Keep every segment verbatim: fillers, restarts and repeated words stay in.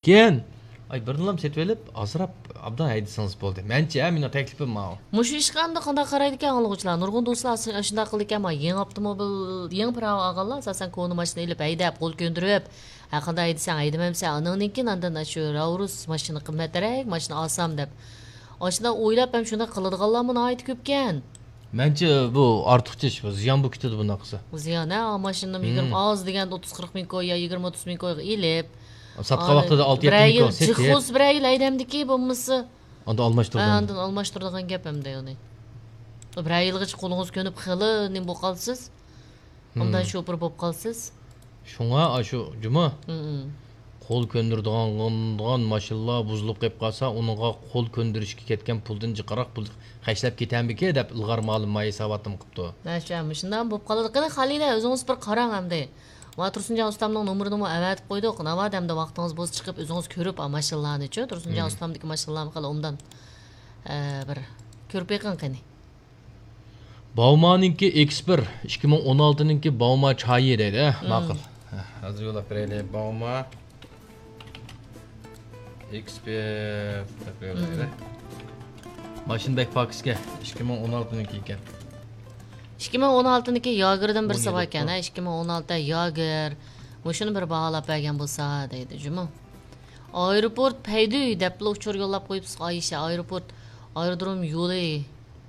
كېيىن، ئاي، بىرنىلا سېتىۋېلىپ، ئازراق ئابدان ھەيدىسىڭىز بولدى. مەنچە، ھە، مېنىڭ تەكلىپىم ماۋۇ. مۇشۇ ئىشقا ئەمدى قانداق قارايدىكەن ئاڭلىغۇچىلار؟ نۇرغۇن دوستلار ئاشۇنداق قىلىدىكەن، ما، يېڭى ئاپتوموبىل، يېڭى پىراۋا ئالغانلار ئاساسەن كونا ماشىنا ئېلىپ ھەيدەپ، قول كۆندۈرۈپ، ھە، قانداق ھەيدىسەڭ ھەيدىمەمسەن، ئانىڭدىن كېيىن ئاندىن شۇ راۋرۇس ماشىنا قىممەترەك، ماشىنا ئالسام دەپ. ئاشۇنداق ئويلاپ ھەم شۇنداق قىلىدىغانلارمۇ ناھايىتى كۆپكەن. مەنچە بۇ ئارتۇقچە ئىش، بۇ زىيان بولۇپ كېتىدۇ بۇنداق قىلسا. زىيان، ھە، ماشىنىنى يىگىرمە، ئاز دېگەندە ئوتتۇز قىرىق مىڭ كوي يا يىگىرمە ئوتتۇز مىڭ كويغا ئېلىپ، ساتقان ۋاقتىدا ئالتە يەتتە مىڭ كوي سېتىپ، بىرەر يىل جىق بولسا، بىرەر يىل ھەيدەمدىكى بولمىسا، ئاندا ئالماشتۇرىدۇ. ئاندىن ئالماشتۇرىدىغان گەپ ئەمدى ئۇنى. بىرەر يىلغىچە قولىڭىز كۆنۈپ خېلى نېمە بولۇپ قالىسىز. ئاندىن شوپۇر بولۇپ قالىسىز. شۇڭا ئاشۇ جۇمۇ، قول كۆندۈرىدىغان ماشىنىلار بۇزۇلۇپ قېلىپ قالسا، ئۇنىڭغا قول كۆندۈرۈشكە كەتكەن پۇلدىن جىقراق پۇل خەجلەپ كېتەمدىكى دەپ ئىلغار مالىم مايساۋاتتىم قىپتۇ. مەشۇ، مۇشۇنداق بولۇپ قالىدۇ. قېنى، خالىدە، ئۆزىڭىز بىر قاراڭ ئەمدى. ما تۇرسۇنجان ئۇستامنىڭ نومۇرىنىمۇ ئەۋەتىپ قويدۇق. ناۋادا ئەمدى ۋاقتىڭىز بولسا چىقىپ، ئۆزىڭىز كۆرۈپ، ئا، ماشىنىلارنىچۇ. تۇرسۇنجان ئۇستامدىكى ماشىنىلارنى خېلى ئوبدان، ئە، بىر كۆرۈپ بېقىڭ قېنى. باۋمانىڭكى ئېكسپىر، ئىككى مىڭ ئون ئالتىنىڭكى باۋما چايى دەيدۇ. ماقۇل. ھە، ھازىر يوللاپ بېرەيلى. باۋما ئېكسپىر دەپ يوللايلى. ماشىنا بەك پاكىزكەن. ئىككى مىڭ ئون ئالتىنىڭكى ئىكەن. ئىككى مىڭ ئون ئالتىنىڭكى ياگېردىن بىرسى باركەن، ھە، ئىككى مىڭ ئون ئالتە ياگېر. مۇشۇنى بىر باھالاپ بەرگەن بولسا دەيدۇ جۇمۇ. ئايروپورت پەيدۈي دەپلا ئۇچۇر يوللاپ قويۇپسىز، ئايشە. ئايروپورت، ئايرودروم يولى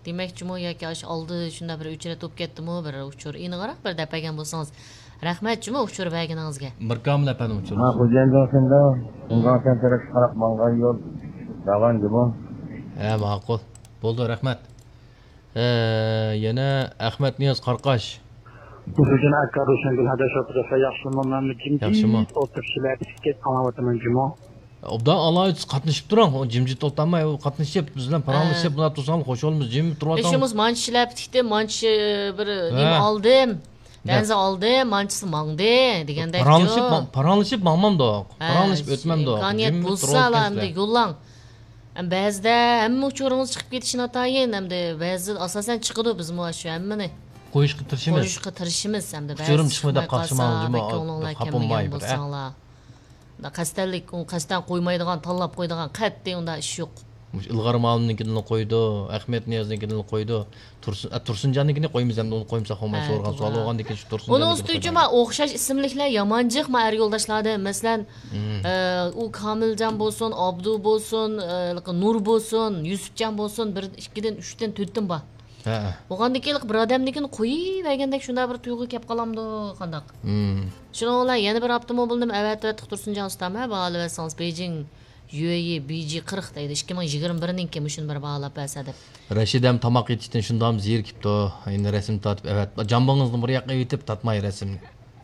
دېمەكچىمۇ ياكى ئاشۇ ئالدى شۇنداق بىر ئۆچرەت بولۇپ كەتتىمۇ، بىر ئۇچۇر ئېنىقراق بىر دەپ بەرگەن بولسىڭىز. رەھمەت جۇمۇ ئۇچۇر بەرگىنىڭىزگە. مىركامىل ئەپەندىم ئۇچۇر. ھە، خوجايىن جاڭسەندە، شىنجاڭسەن تەرەپكە قاراپ ماڭغان يول راۋان جۇمۇ. ھە، ماقۇل. بولدى، رەھمەت. ھە، يەنە ئەخمەت نىياز قارقاش. خوجايىن ئاكا، روشەنگۈل ھەدەش ئوتتۇرىسى ياخشىمۇ؟ مەنمۇ جىمجىت ئولتۇرۇپ شىلەپە تىكىپ ئاڭلاۋاتىمەن جۇمۇ. ئوبدان ئالايىتسىز قاتنىشىپ تۇرۇڭ. ئۇ جىمجىت ئولتۇرماي، ئۇ قاتنىشىپ، بىز بىلەن پاراڭلىشىپ، مۇنداق تۇرساڭلار خوش بولىمىز. جىمجىت تۇرۇۋاتساڭلار. مانچە شىلەپە تىكتىم، مانچە بىر نېمە ئالدىم. بەنزە ئالدىم، مانچىسى ماڭدى دېگەندەك. پاراڭلىشىپ، پاراڭلىشىپ ماڭمامدۇق. پاراڭلىشىپ ئۆتمەمدۇق. ئىمكانىيەت بولسا ئەمدى يوللاڭ. بەزىدە ھەممە ئۇچۇرىڭىز چىقىپ كېتىشى ناتايىن، ئەمدى بەزىدە ئاساسەن چىقىدۇ، بىزمۇ شۇ ھەممىنى قويۇشقا تىرىشىمىز. قويۇشقا تىرىشىمىز ئەمدى. ئۇچۇرۇم چىقماي قالسا، بەك كۆڭلۈڭلار كەلمىگەن بولساڭلار. قەستەنلىك، ئۇنى قەستەن قويمايدىغان، تاللاپ قويىدىغان قەتئىي ئۇنداق ئىش يوق. مۇشۇ ئىلغار مالىمنىڭكىنىلا قويىدۇ، ئەخمەت نىيازنىڭكىنىلا قويىدۇ. تۇرسۇن، ئە، تۇرسۇنجاننىڭكىنى قويمىسا ئەمدى ئۇنى قويمىسا قويماي سورىغان سوئال بولغاندىن كېيىن شۇ تۇرسۇنجاننىڭكىنى قويمايدۇ. ئۇنىڭ ئۈستىگە جۇما ئوخشاش ئىسىملىكلەر يامان جىق ما ئەر يولداشلاردىن. مەسىلەن، ئە، ئۇ كامىلجان بولسۇن، ئابدۇ بولسۇن، ئە، نۇر بولسۇن، يۈسۈپجان بولسۇن، بىر، ئىككىدىن، ئۈچتىن، تۆتتىن بار. ھە. بولغاندىن كېيىن بىر ئادەمنىڭكىنى قويۇۋەرگەندەك شۇنداق بىر تۇيغۇ كەپ قالامدۇ قانداق؟ شۇنىڭ بىلەن يەنە بىر ئاپتوموبىلنى ئەۋەتىۋەتتۇق تۇرسۇنجان ئۇستام، ھە، باھالىۋەتسىڭىز، بېيجىڭ يۈەيى بىجى قىرىق دەيدۇ، ئىككى مىڭ يىگىرمە بىرنىڭكى، مۇشۇنى بىر باھالاپ بەرسە دەپ. رەشىدەم تاماق يېتىشتىن شۇنداقمۇ زېرىكىپتۇ. ئەمدى رەسىم تارتىپ ئەۋەت. جامبىڭىزنى بىر ياققا ئېۋىتىپ تارتماي رەسىمنى.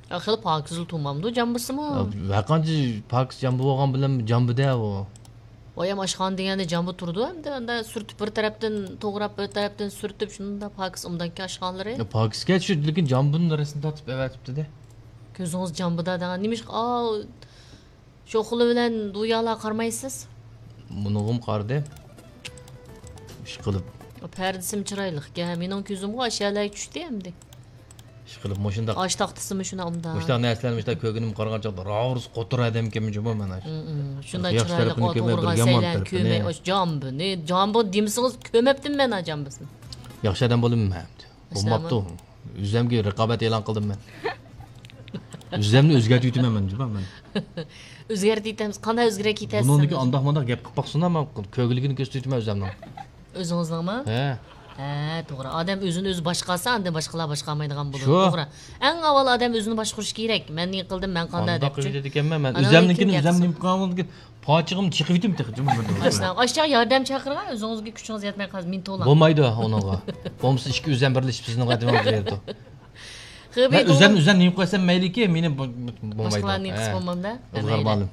خېلى پاكىزلا تۇرمامدۇ جامبىسىمۇ؟ ھەرقانچە پاكىز جامبا بولغان بىلەن جامبىدە ئۇ. ۋايەم، ئاشخانا دېگەندە جامبا تۇرىدۇ ئەمدى، ئاندا سۈرتۈپ بىر تەرەپتىن توغراپ، بىر تەرەپتىن سۈرتۈپ، شۇنداق پاكىز ئۇنداكى ئاشخانىلىرى. پاكىزكەن شۇ، لېكىن جامبىنى رەسىم تارتىپ ئەۋەتىپتۇ-دە. كۆزىڭىز جامبىدا دەڭ. نېمىشقا، ئاۋۇ شوخلا بىلەن دۇيالا قارىمايسىز؟ مۇنىغىمۇ قارىدىم. ئىشقىلىپ. پەردىسىمۇ چىرايلىقكەن. مېنىڭ كۆزۈمغۇ ئاشۇ يەرلەرگە چۈشتى ئەمدى. ئىشقىلىپ مۇشۇنداق. ئاش تاختىسىمۇ شۇنداق ئۇنداق. مۇشۇنداق نەرسىلەرنى مۇشۇنداق كۆرگىنىم قارىغان چاغدا راۋۇرۇس قوتۇر ئادەمكەنمەن جۇمۇ مەن ئاشۇ. شۇنداق چىرايلىق ئوتۇغۇرغان سەيلەن كۆمەي، ئاشۇ جامبىنى، جامبا دېمىسىڭىز كۆمەپتىمەن مەن ئاشۇ جامبىسىنى. ياخشى ئادەم بولىمەن مەن. بولماپتۇ. ئۆزۈمگە رىقابەت ئېلان قىلدىم مەن. ئۆزۈمنى ئۆزگەرتىۋېتىمەن مەن جۇمۇ مەن. ئۆزگەرتىۋېتىمىز. قانداق ئۆزگەرتىۋېتەسىز؟ بۇنىڭدىكى ئانداق مانداق گەپ قىلىپ باقسۇن، مەن كۆگىلىكىنى كۆرسىتىۋېتىمەن ئۆزۈمنىڭ. ئۆزىڭىزنىڭمۇ؟ ھە. ھە، توغرا. ئادەم ئۆزىنى ئۆزى باشقارسا، ئاندىن باشقىلار باشقارمايدىغان بولىدۇ. شۇ. توغرا. ئەڭ ئاۋۋال ئادەم ئۆزىنى باشقۇرۇشى كېرەك. مەن نېمە قىلدىم، مەن قانداق دەپچۇ. ئانداق قىلىدىكەنمەن مەن. ئۆزۈمنىڭكىنى ئۆزۈم نېمە قىلغان بولدىكەن. پاچىقىمنى چېقىۋېتىم تېخى جۇمۇ. ئاشۇنداق ياردەم چاقىرغان، ئۆزىڭىزگە كۈچىڭىز يەتمەي قالسا مىنت بولا. بولمايدۇ ئۇنىڭغا. بولمىسا ئىككى ئۆزەم بىرلىشىپ سىزنىڭ ئادىمىڭىزنى بېرىدۇ. مەن ئۆزەم، ئۆزەم نېمە قىلسام مەيلىكى، مېنى باشقىلار نېمە قىلسا بولمامدا. ئىلغار مالىم.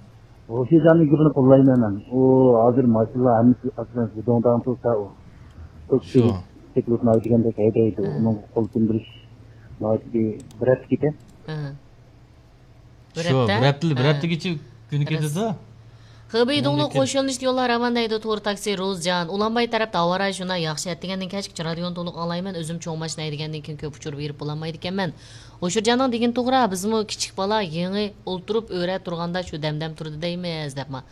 روشىجاننىڭ گېپىنى قوللايمەن مەن. ئۇ ھازىر ماشىنىلار ھەممىسى ئاساسەن زىدوڭدان تۇرسا ئۇ. شۇ. تېكلىتناۋ دېگەندەك ھەيدەيدۇ. ئۇنىڭغا قول كۆندۈرۈش ناھايىتى بىر ھەپتە كېتە. شۇ، بىر ھەپتە؟ بىر ھەپتە، بىر ھەپتىگىچە كۈنى كېتىدۇ. خېبېي دۇڭلۇق قوش يۆنىلىشلىك يوللار راۋان دەيدۇ تور تاكسى روزجان. ئۇلانباي تەرەپتە ھاۋا رايى شۇنداق ياخشى، ئەتىگەندىن كەچكىچە رادىيونى تولۇق ئاڭلايمەن. ئۆزۈم چوڭ ماشىنا ھەيدىگەندىن كېيىن كۆپ ئۇچۇر بېرىپ بولالمايدىكەنمەن. ئۇچۇرجاننىڭ دېگىنى توغرا، بىزمۇ كىچىك بالا يېڭى ئولتۇرۇپ ئۆرە تۇرغاندا شۇ دەمدەم تۇرىدۇ دەيمىز، دەپما.